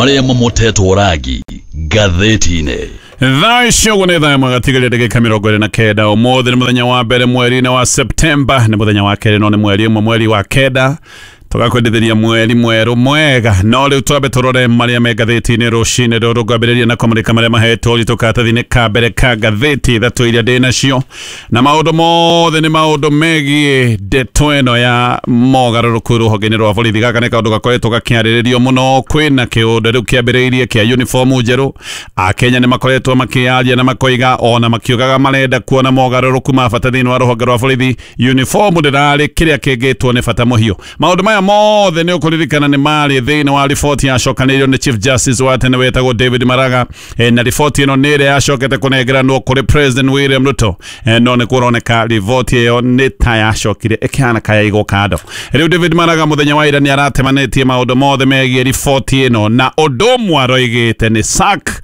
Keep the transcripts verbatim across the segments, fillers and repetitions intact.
Marĩa mamotetwo rangi ngathĩti-inĩ. Thaa icio ũguo nĩ thaa ĩmwe gatigaria ndagĩka mĩrongo ĩrĩ na kenda. Ũmũthĩ nĩ mũthenya wa mbere mweri-inĩ wa Septemba, nĩ mũthenya wa kerĩ no nĩ mweri ũmwe mweri wa kenda, tũgakwendithĩria mweri mwerũ mwega. No rĩu twambe tũrore marĩa me ngathĩti-inĩ rũcinĩ rũrũ. Ngwambĩrĩria na kũmũrĩka marĩa mahetwo ũritũ karatathi-inĩ ka mbere ka ngathĩti ithatũ iria ndĩ nacio, na maũndũ mothe nĩ maũndũ megiĩ ndeto ĩno ya mogarũrũku rũhonge-inĩ rwa borithi. Gaka nĩ kaũndũ gakoretwo gakĩarĩrĩrio mũno. Kwĩna kĩũndũ rĩu kĩambĩrĩirie kĩa uniform njerũ. Akenya nĩ makoretwo makĩaria na makoiga ona makiugaga marenda kuona mogarũrũku ma bata thĩinĩ wa rũhonge rwa borithi. Uniform ndĩrarĩ kĩrĩa kĩngĩtwo nĩ bata mũhiũ. Maũndũ maya mothe nĩ ũkũririkana nĩ marĩ thĩinĩ wa riboti yacokanĩirio nĩ Chief Justice wa tene wetagwo David Maraga, e, na riboti ĩno nĩ ĩrĩa yacokete kũnengeranwo kũrĩ President William Ruto, e, no nĩ kũroneka riboti ĩyo nĩ ta yacokire ĩkĩhana kayaigwo kando. Rĩu David Maraga mũthenya wa ira nĩ aratemanĩtie maũndũ mothe megiĩ riboti ĩno, na ũndũ ũmwe aroigĩte nĩ sack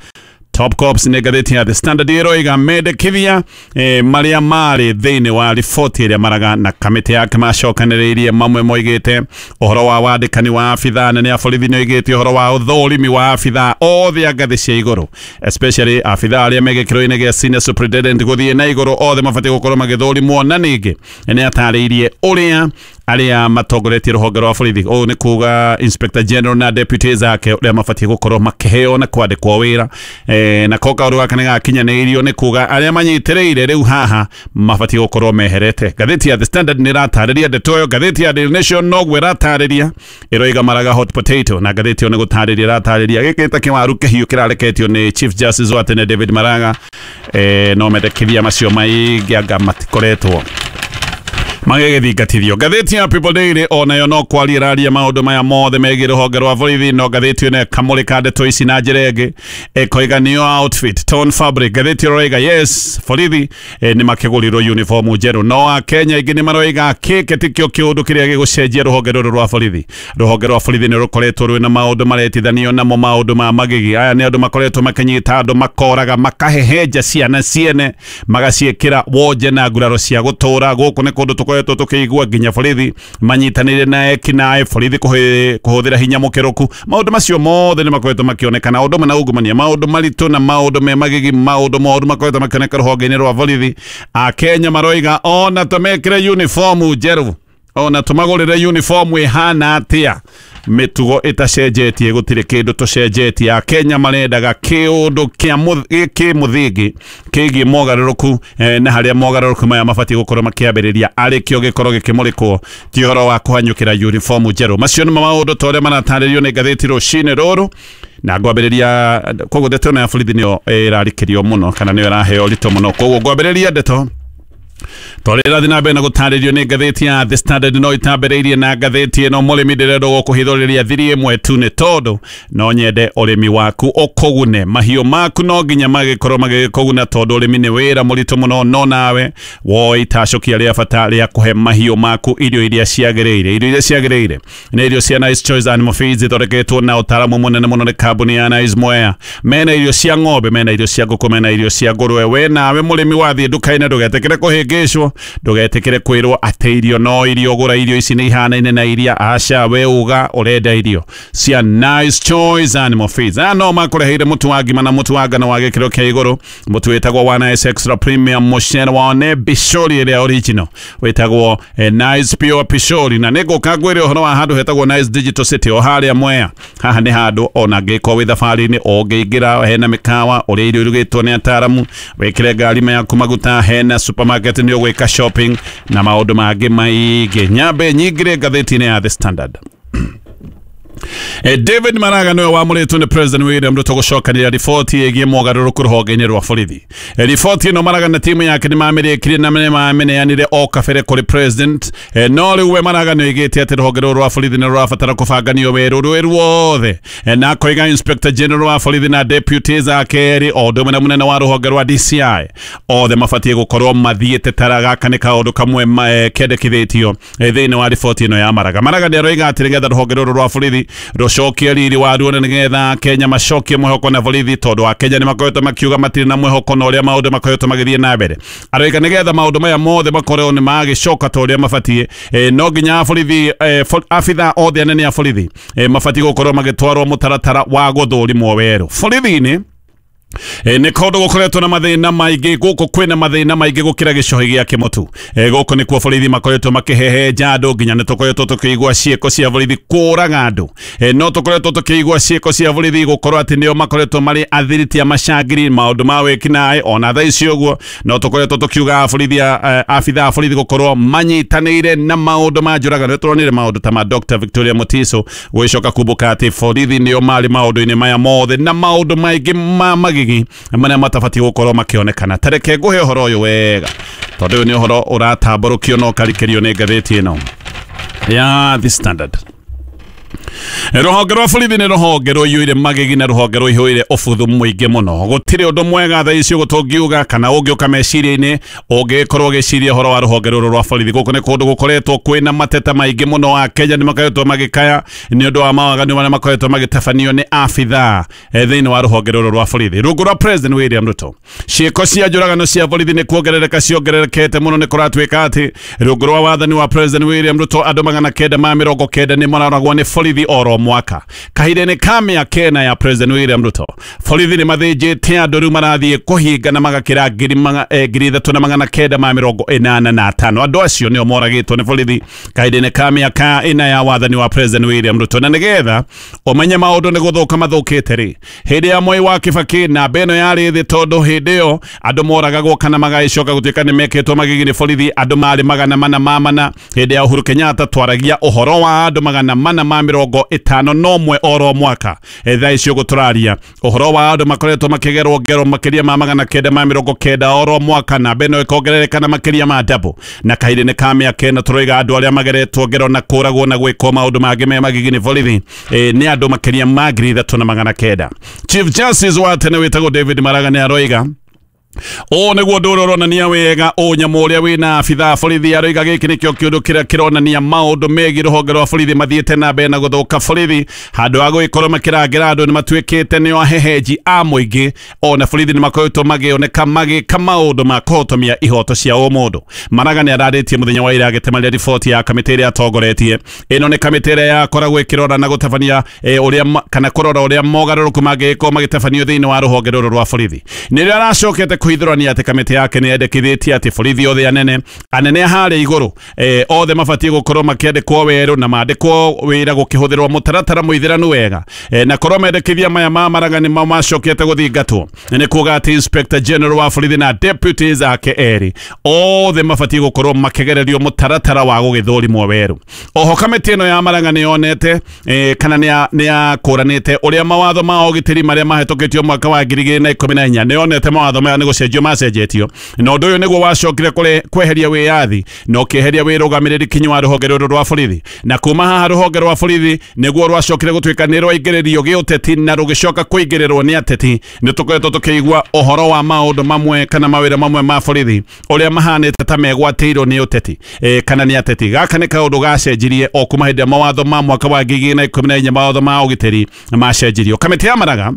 Top Cops. Nĩ ngathĩti ya The Standard ĩroiga mendekithia eh, marĩa marĩ thĩinĩ wa riboti ĩrĩa Maraga na kamĩtĩ yake macokanĩrĩirie. Mamwe moigĩte ũhoro wa wandĩkani wa abithaa nene a borithi, nĩ oigĩte ũhoro wa ũthũrimi wa abithaa othe a ngathĩ cia igũrũ, especially abithaa arĩa me gĩkĩro-inĩ gĩa senior superintendent gũthiĩ na igũrũ, othe mabatiĩ gũkorwo magĩthũrimwo. Na ningĩ nĩ atarĩirie ũrĩa arĩa matongoretie rũhonge rwa borithi, ũũ nĩ kuga Inspector General na deputies ake, ũrĩa mabatiĩ gũkorwo makĩheo na kwandĩkwo wĩra, e, na ko kaũndũ gaka nĩ gakinyanĩirio, nĩ kuga arĩa manyitĩrĩire rĩu haha mabatiĩ gũkorwo meherete. Ngathĩti ya The Standard nĩ ĩratarĩria ndeto ĩyo. Ngathĩti ya Daily Nation noguo ĩratarĩria, ĩroiga Maraga hot potato, na ngathĩti ĩyo nĩ gũtarĩria ĩratarĩria gĩkĩ ta kĩwaru kĩhiũ kĩrareketio nĩ Chief Justice wa tene David Maraga, e, no mendekithia macio maingĩ anga matikoretwo magĩgĩthingatithio. Ngathĩti ya People Daily onayo no kwaria ĩraria maũndũ maya mothe megiĩ rũhonge rwa borithi, no ngathĩti ĩno ĩkamũrĩka ndeto ici na njĩra ĩngĩ, ĩkoiga new outfit torn fabric. Ngathĩti ĩroiga yes, borithi eh, nĩ makĩgũrirwo uniform njerũ, no akenya aingĩ nĩ maroiga kĩkĩ tikĩo kĩũndũ kĩrĩa gĩgũcenjia rũhonge rũrũ rwa borithi. Rũhonge rwa borithi nĩ rũkoretwo rwĩna maũndũ maretithanio namo, maũndũ ma magigi. Aya nĩ andũ makoretwo makĩnyita andũ, makoraga, makahehenja ciana ciene, magaciĩkĩra wonje na nguraro cia gũtũra. Gũkũ nĩ kũndũ tũkoretwo tũkĩigua nginya borithi manyitanĩire na ekinaĩ, borithi kũhũthĩra hinya mũkĩrũku. Maũndũ macio mothe nĩ makoretwo makĩonekana, ũndũ ũmwe na ungumania, maũndũ maritũ na maũndũ me magigi, maũndũ moru makoretwo makĩoneka rũhonge-inĩ rwa borithi. Akenya maroiga ona tũmekĩre uniform njerũ, ona tũmagũrĩre uniform ĩhana atĩa, mĩtugo ĩtacenjetie, gũtirĩ kĩndũ tũcenjetie. Akenya marendaga kĩũndũ kĩa kĩmũthingi kĩgiĩ mogarũrũku, eh, na harĩa mogarũrũku maya mabatiĩ gũkorwo makĩambĩrĩria arĩ kĩo gĩkorwo gĩkĩmũrĩkwo, ti ũhoro wa kũhanyũkĩra uniform njerũ. Macio nĩmo maũndũ ta ũrĩa maratarĩrio nĩ ngathĩti rũcinĩ rũrũ, na ngwambĩrĩria koguo ndeto ĩno ya borithi nĩyo ĩrarikĩrio mũno, kana nĩyo ĩraheo ũritũ mũno. Koguo ngwambĩrĩria ndeto tondũ ĩrathiĩ na mbere na gũtarĩrio nĩ ngathĩti ya The Standard, no itambĩrĩirie na ngathĩti ĩno. Mũrĩmi, ndĩrenda gũkũhithũrĩria thiri ĩmwe tu, nĩ tondũ no nyende ũrĩmi waku ũkũgune. Mahiũ maku no nginya magĩkorwo magĩkũguna, tondũ ũrĩmi nĩ wĩra mũritũ mũno, no nawe woe itacũkia rĩa bata rĩa kũhe mahiũ maku irio iria ciagĩrĩire. Irio iria ciagĩrĩire nĩ irio cia Nice Choice Animal Feeds, ithondeketwo na ũtaaramu mũnene mũno nĩ kambuni ya Nice Mwea. Mena irio cia ng'ombe, mena irio cia ngũkũ, mena irio cia ngũrwe. We nawe mũrĩmi wathiĩ nduka-inĩ, ndũgetĩkĩre kũhĩngĩcwo, ndũgetĩkĩre kwĩrwo atĩ irio no irio, gũra irio ici nĩ ihanaine na iria. Aca, we uga ũrenda irio cia Nice Choice Animal Feeds. Aya no makũreheire mũtu wa ngima na mũtu wa ngano wa gĩkĩro kĩa igũrũ, mũtu wĩtagwo wa Nice Extra Premium, mũcere wao nĩ bishori ĩrĩa original wĩtagwo eh, Nice Pure Pishori. Na nĩngũka ngwĩre ũhoro wa handũ hetagwo Nice Digital City o harĩa Mwea. Haha nĩ handũ ona ngĩkorwo wĩ thabarĩ-inĩ ũngĩingĩra, hena mĩkawa ũrĩa irio irugĩtwo nĩ ataaramu, wĩkĩre ngari yaku maguta, hena supermarket nĩ ũgwĩka shopping na maũndũ mangĩ maingĩ. Nyambe nyingĩre ngathĩti-inĩ ya The Standard. David Maraga niwe wamũrĩtwo nĩ President William Ruto gũcokanĩria riboti ĩgiĩ mogarũrũku rũhonge-inĩ rwa borithi. Riboti ĩno Maraga na timu yake nĩ mamĩrĩkirie na nĩ mamĩneanire o kabere kũrĩ President, no rĩu we Maraga nĩ oigĩte atĩ rũhonge rũrũ rwa borithi nĩ rũrabatara kũbanganio werũ rwĩ ruothe, na akoiga Inspector General wa borithi na deputies ake erĩ o ũndũ ũmwe na mũnene wa rũhonge rwa D C I othe mabatiĩ gũkorwo mathiĩte tara. Gaka nĩ kaũndũ kamwe kendekithĩtio thĩinĩ wa riboti ĩno ya Maraga. Maraga nĩ aroiga atĩ nĩgetha rũhonge rũrũ rwa borithi Rũcokie riri waruo nĩgetha Kenya macokie mwĩhoko na borithi, tondũ wa Kenya nĩ makoretwo makiuga matirĩ na mwĩhoko na ũrĩa maũndũ makoretwo magĩthiĩ na mbere. Aroiga nĩgetha maũndũ maya mothe makorwo nĩ magĩcoka ta ũrĩa mabatiĩ, e, no nginya borithi, e, abitha othe anene a borithi, e, mabatiĩ gũkorwo magĩtwarwo mũtaratara wa gũthũrimwo werũ borithi-inĩ. E, nĩ kũndũ gũkoretwo na mathĩna maingĩ, gũkũ kwĩna mathĩna maingĩ gũkĩra gĩcohi gĩa kĩmũtu. E, gũkũ nĩkuo borithi makoretwo makĩhehenja andũ, nginya nĩ tũkoretwo tũkĩigua ciĩko cia borithi kũraga andũ. E, no tũkoretwo tũkĩigua ciĩko cia borithi gũkorwo atĩ nĩo makoretwo marĩ athiriti a macangiri maũndũ ma wĩkinaĩ. Ona thaa ici ũguo no tũkoretwo tũkiuga borithi, abitha a borithi gũkorwo manyitanĩire na maũndũ ma njũragano. Nĩtũronire maũndũ ta ma Doctor Victoria Mutiso gũgĩcoka kumbũka atĩ borithi nĩo marĩ maũndũ-inĩ maya mothe na maũndũ maingĩ ma magigi marĩa matabatiĩ gũkorwo makĩonekana. Tareke ngũhe ũhoro ũyũ wega, tondũ ũyũ nĩ ũhoro ũratambũrũkio na ũkarikĩrio nĩ ngathĩti ĩno ya The Standard. Rũhonge rwa borithi nĩ rũhonge rũiyũire magigi na rũhonge rũihũire ũbuthu mũingĩ mũno. Gũtirĩ ũndũ mwega thaa ici ũguo tũngiuga kana ũngĩũka meciria-inĩ ũngĩkorwo ũgĩciria ũhoro wa rũhonge rũrũ rwa borithi. Gũkũ nĩ kũndũ gũkoretwo kwĩna mateta maingĩ mũno. Wa Kenya nĩ makoretwo magĩkaya nĩ ũndũ wa mawaganu marĩa makoretwo magĩtabanio nĩ abithaa thĩinĩ wa rũhonge rũrũ rwa borithi. Rungu rwa President William Ruto, ciĩko cia njũragano cia borithi nĩ kuongerereka ciongererekete mũno. Nĩ kũratuĩka atĩ rungu rwa wathani wa President William Ruto andũ magana kenda ma mĩrongo kenda nĩ maroragwo nĩ borithi oro mwaka. Kahinda-inĩ ka mĩaka ĩna ya President William Ruto, borithi nĩ mathĩnjĩte andũ rĩu marathiĩ kũhinga na magakĩra ngiri ithatũ na magana kenda ma mĩrongo ĩnana na atano. Andũ acio nĩo moragĩtwo nĩ borithi kahinda-inĩ ka mĩaka ĩna ya wathani wa President William Ruto. Na nĩgetha ũmenye maũndũ nĩ gũthũka mathũkĩte rĩ, hĩndĩ ya Mwai wa Kibaki namba ĩno yarĩ thĩ, tondũ hĩndĩ ĩyo andũ moragagwo kana magagĩcoka gũtuĩka nĩ mekĩtwo magigi nĩ borithi andũ marĩ magana mana ma mana. Hĩndĩ ya Uhuru Kenyatta twaragia ũhoro wa andũ magana mana ma mĩrongo ĩtano no mwe oro mwaka. Thaa ici ũguo tũraria ũhoro wa andũ makoretwo makĩgerwo ngero makĩria ma magana kenda ma mĩrongo kenda oro mwaka, namba ĩno ĩkongerereka na makĩria ma double. Na kahinda-inĩ ka mĩaka ĩno tũroiga andũ arĩa mageretwo ngero na kũragwo na gwĩkwo maũndũ mangĩ me magigi nĩ borithi, e, nĩ andũ makĩria ma ngiri ithatũ na magana kenda. Chief Justice wa tene wĩtagwo David Maraga nĩ aroiga ũũ nĩguo ũndũ ũrĩa ũronania wega ũnyamũ ũrĩa wĩna abithaa borithi. Aroiga gĩkĩ nĩkĩo kĩũndũ kĩrĩa kĩronania maũndũ megiĩ rũhonge rwa borithi mathiĩte na mbere na gũthũka. Borithi handũ ha gũgĩkorwo makĩrangĩra andũ nĩ matuĩkĩte nĩo ahehenji a mũingĩ. Ona borithi nĩ makoretwo magĩoneka magĩka maũndũ ma kũhotomia ihoto cia ũmũndũ. Maraga nĩ ararĩtie mũthenya wa ira agĩtemaria riboti ya kamĩtĩ ĩrĩa atongoretie. Ĩno nĩ kamĩtĩ ĩrĩa yakoragwo ĩkĩrora na gũtabania ũrĩa kana kũrora ũrĩa mogarũrũku mangĩgĩkorwo magĩtabanio thĩinĩ wa rũhonge rũrũ rwa borithi. Nĩrĩo aracokete kũhithũrania atĩ kamĩtĩ yake nĩ yendekithĩtie atĩ borithi othe anene anene harĩa igũrũ, eh, othe mabatiĩ gũkorwo makĩandĩkwo werũ na mandĩkwo wĩra gũkĩhũthĩrwo mũtaratara mũithĩranu wega. Eh, na korwo mendekithia maya ma Maraga nĩ macokete gũthingatwo, nĩ kuga atĩ Inspector General wa borithi na deputies ake erĩ othe mabatiĩ gũkorwo makĩgererio mũtaratara wa gũgĩthũrimwo werũ. Oho kamĩtĩ ĩno ya Maraga nĩ yonete, eh, kana nĩ yakũranĩte ũrĩa mawatho ma ũgitĩri marĩa mahĩtũkĩtio mwaka wa ngiri igĩrĩ na ikũmi na inya. Nĩ yonete mawatho maya nĩ gũcenjio macenjetio, na ũndũ ũyũ nĩguo wacokire kweheria wĩyathi na ũkĩeheria wĩrũgamĩrĩri kinyi wa rũhonge rũrũ rwa borithi. Na kuma haha rũhonge rwa borithi nĩguo rwacokire gũtuĩka nĩ rwaingĩrĩrio gĩũteti na rũgĩcoka kũingĩrĩrwo nĩ ateti. Nĩ tũkoretwo tũkĩigua ũhoro wa maũndũ mamwe kana mawĩra mamwe ma borithi ũrĩa mahanĩte ta megwatĩirwo nĩ ũteti, e, kana nĩ ateti. Gaka nĩ kaũndũ gacenjirie o kuma hĩndĩ ya mawatho ma mwaka wa ngiri igĩrĩ na ikũmi na inya mawatho ma ũgitĩri macenjirio. Kamĩtĩ ya Maraga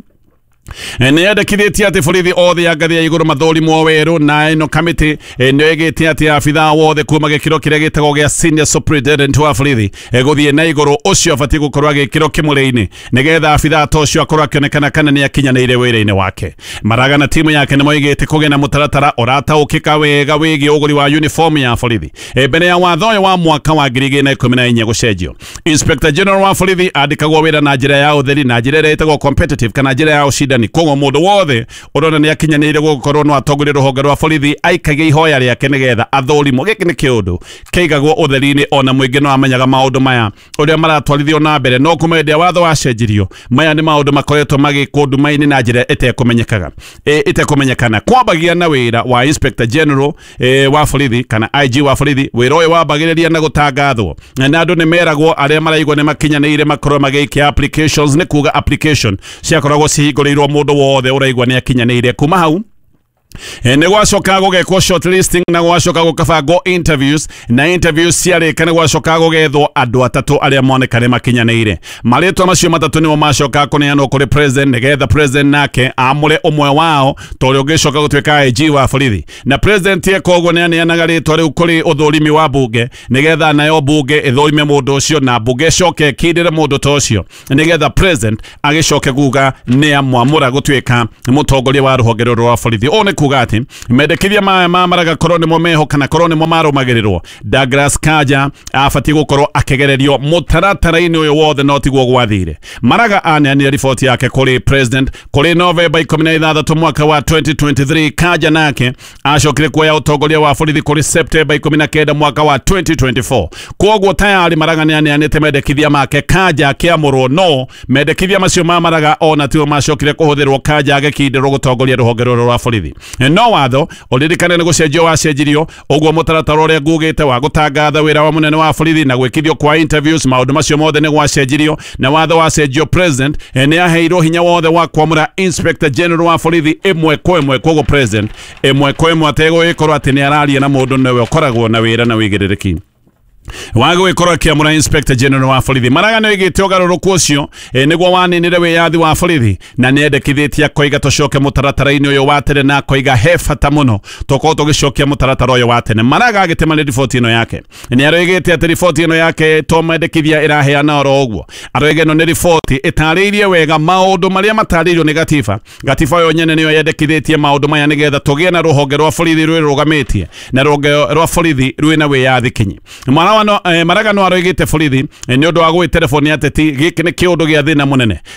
nĩ yendekithĩtie atĩ borithi othe a ngathĩ ya igũrũ mathũrimwo werũ, na ĩno kamĩtĩ nĩ ĩgĩte atĩ abithaa wothe kuma gĩkĩro kĩrĩa gĩtagwo gĩa senior superintendent wa borithi gũthiĩ na igũrũ ũcio abatiĩ gũkorwo agĩkĩrwo kĩmũrĩ-inĩ nĩgetha abithaa ta ũcio akorwo akĩonekana kana nĩ akinyanĩire wĩra-inĩ wake. Maraga na timu yake nĩ moigĩte kũgĩa na mũtaratara ũrataũkĩka wega wĩgiĩ ũgũri wa uniform ya borithi. Mbere ya watho ũyũ wa mwaka wa ngiri igĩrĩ na ikũmi na inya gũcenjio, Inspector General wa borithi andĩkagwo wĩra na njĩra ya ũtheri na njĩra ĩrĩa ĩtagwo competitive kana njĩra ya ũcindani. Koguo mũndũ wothe ũrona nĩ akinyanĩire gũkorwo no atongorie rũhonge rwa borithi aikagie ihoya rĩake nĩgetha athũrimwo. Gĩkĩ nĩ kĩũndũ kĩigagwo ũtheri-inĩ, ona mũingĩ no amenyaga maũndũ maya ũrĩa maratwarithio na mbere. No kuma hĩndĩ ya watho wacenjirio, maya nĩ maũndũ makoretwo magĩkwo nduma-inĩ na njĩra ĩtekũmenyekaga ĩtekũmenyekana. Kwambagia na wĩra wa Inspector General e, wa borithi kana I G wa borithi. Wĩra ũyũ wambagĩrĩria na gũtangathwo na andũ nĩ meragwo arĩa maraigua nĩ makinyanĩire makorwo magĩikia applications, nĩ kuga application ciakoragwo cihingũrĩirwo mũndũ wothe ũraigua nĩ akinyanĩire. Kuma hau Nĩ gwacoka gũgekwo shortlisting na gwacoka gũkabangwo interviews, na interviews ciarĩka nĩ gwacoka gũgethwo andũ atatũ arĩa monekane makinyanĩire. Marĩtwa macio matatũ nĩmo macoka kũneanwo kũrĩ president, nĩgetha president nake amũre ũmwe wao ta ũrĩa ũngĩcoka gũtuĩka I G wa borithi. Na president eka ũguo, nĩ aneanaga rĩtwa rĩu kũrĩ ũthũrimi wa bunge, nĩgetha nayo bunge ĩthũrime mũndũ ũcio, na bunge ĩcoke ĩkindĩre mũndũ ta ũcio, nĩgetha president agĩcoke kuga nĩ amwamũra gũtuĩka mũtongoria wa rũhonge rũrũ rwa borithi. Ũũ nĩ kuga atĩ mendekithia maya ma Maraga korwo nĩmo meho kana korwo nĩmo marũmagĩrĩrwo, Douglas Kanja abatiĩ gũkorwo akĩgererio mũtaratara-inĩ ũyũ wothe, no tiguo gwathire. Maraga aneanire riboti yake kũrĩ president kũrĩ Novemba ikũmi na ithathatũ mwaka wa twenty twenty-three. Kanja nake acokire kuoya ũtongoria wa borithi kũrĩ Septemba ikũmi na kenda mwaka wa twenty twenty-four. Kwoguo tayari Maraga nĩ aneanĩte mendekithia make Kanja akĩamũrwo, no mendekithia macio ma Maraga ona tio macokire kũhũthĩrwo Kanja agĩkindĩrwo gũtongoria rũhonge rũrũ rwa borithi. No watho ũririkane nĩ gũcenjio wacenjirio, ũguo mũtaratara ũrĩa ngugĩte wa gũtangatha wĩra wa mũnene wa borithi na gwĩkithio kwa interviews, maũndũ macio mothe nĩ gwacenjirio. Na watho wacenjio, president eh, nĩ aheirwo hinya wothe wa kwamũra inspector general wa borithi ĩmwe kwa ĩmwe. Koguo president ĩmwe kwa ĩmwe ategũgĩkorwo atĩ nĩ araria na mũndũ, nĩwe ũkoragwo na wĩra na wĩigĩrĩrĩki wa gwĩkorwo akĩamũra inspector general wa borithi. Maraga nĩ oigĩte ũgarũrũku ũcio eh, nĩguo waninire wĩyathi wa borithi, na nĩ endekithĩtie akoiga tũcoke mũtaratara-inĩ ũyũ wa tene, na akoiga he bata mũno tũkorwo tũgĩcokia mũtaratara ũyũ wa tene. Maraga agĩtema nĩ riboti ĩno yake, nĩ aroigĩte atĩ riboti ĩno yake to mendekithia ĩraheana oro ũguo. Aroiga ĩno nĩ riboti ĩtarĩirie wega maũndũ marĩa matarĩirio nĩ gatiba. Gatiba yo nyene nĩyo yendekithĩtie maũndũ maya, nĩgetha tũgĩe na rũhonge rwa borithi rwĩrũgamĩtie na rũhonge rwa borithi rwĩna wĩyathi kinyi. Maraga no, eh, Maraga no aroigĩte borithi eh, nĩ ũndũ wa gwĩtereboni ateti gĩkĩ nĩ kĩũndũ gĩa thĩna mũnene.